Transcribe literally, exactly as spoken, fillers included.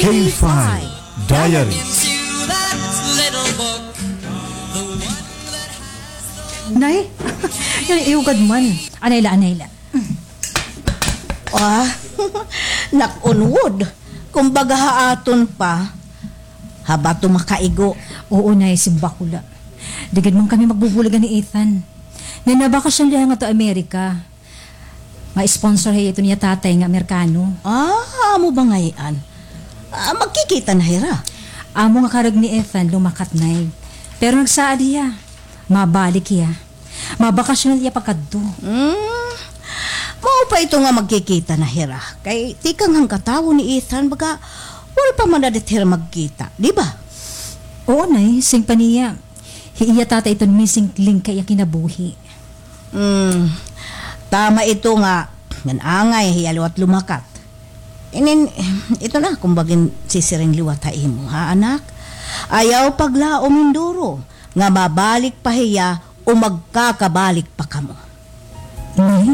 K five Diaries. Nay, nay, iugad man. Anay la, anay la. Ah, knock on wood. Kumbaga ha aton pa, ha bato makaigo. Oo, nay, simbako la. Di gad man kami magbubulagan ni Ethan. Nanabakasyon la hiya ngadto Amerika. Ma-sponsor hiya iton iya tatay nga Amerikano. Ah, amo ba ngay-an? Ah, magkikita na hira? Amo nga karuyag ni Ethan lumakat, nay. Pero nagsaad hiya. Mabalik hiya. Mabakasyon hiya pagkadto. Hmm. Mao pa ito nga magkikita na hira. Kay tikang han katawo ni Ethan, baga, wala pa man na diri hira magkita, di ba? Oo, nay, siring pa niya. Hi iya tatay iton missing link ha iya kinabuhi. Hmm. Tama ito nga, ngan angay hiya liwat lumakat. Inin, ito na, kumbaga in sisiring liwat ha imo, ha, anak? Ayaw paglaom hin duro, nga mabalik pa hiya o magkakabalik pa kamo. Nay?